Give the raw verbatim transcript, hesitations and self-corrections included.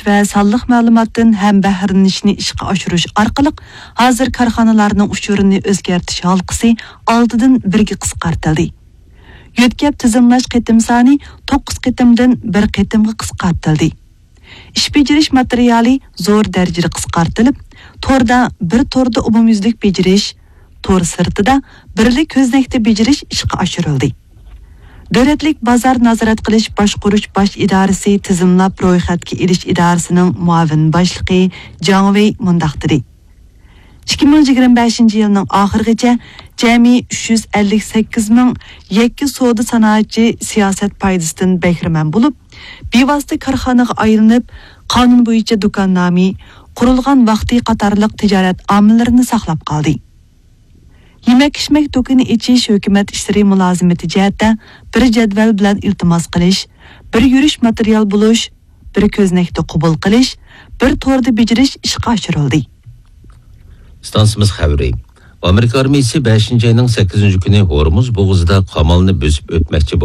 ۋە سانلىق مەلۇماتتىن ھەم بەھرىلىنىشنى ئىشقا ئاشۇرۇش ئارقىلىق، ھازىر كارخانىلارنىڭ ئۇچۇرىنى ئۆزگەرتىش ھالقىسى ئالتىدىن بىرگە قىسقارتىلدى. يۆتكەپ تىزىملاش قېتىم سانى توققۇز قېتىمدىن بىر قېتىمغا قىسقارتىلدى. ئىش بېجىرىش ماتېرىيالى زور دەرىجىدە قىسقارتىلىپ، توردا بىر توردا ئومۇميۈزلۈك بېجىرىش، تور سىرتىدا بىرلا كۆزنەكتە بېجىرىش ئىشقا ئاشۇرۇلدى. دۆلەتلىك بازار نازارەت قىلىش باشقۇرۇش باش ئىدارىسى تىزىملاپ رويخەتكە ئېلىش ئىدارىسىنىڭ مۇئاۋىن باشلىقى جاڭ ۋېي مۇنداق دېدى: ئىككى مىڭ يىگىرمە بەشىنچى يىلنىڭ ئاخىرىغىچە جەمئىي ئۈچ يۈز ئەللىك سەككىز مىڭ يەككە سودا سانائەتچى سىياسەت پايدىسىدىن بەھرىمەن بولۇپ، بىۋاسىتە كارخانىغا ئايلىنىپ، قانۇن بويىچە دۇكاننامە، قۇرۇلغان ۋاقتى قاتارلىق تىجارەت ئامىللىرىنى ساقلاپ قالدى. يېمەك-ئىچمەك دۇكىنى ئېچىش ھۆكۈمەت ئىشلىرى مۇلازىمىتى جەھەتتە بىر جەدۋەل بىلەن ئىلتىماس قىلىش، بىر يۈرۈش ماتېرىيال بولۇش، بىر كۆزنەكتە قوبۇل قىلىش، بىر توردا بېجىرىش ئىشقا ئاشۇرۇلدى. ئىستانسىمىز خەۋىرى. ئامېرىكا ئارمىيىسى بەشىنچى ئاينىڭ سەككىزىنچى كۈنى ھورمۇز بوغۇزىدا قامالنى بۆسۈپ ئۆتمەكچى بولدى.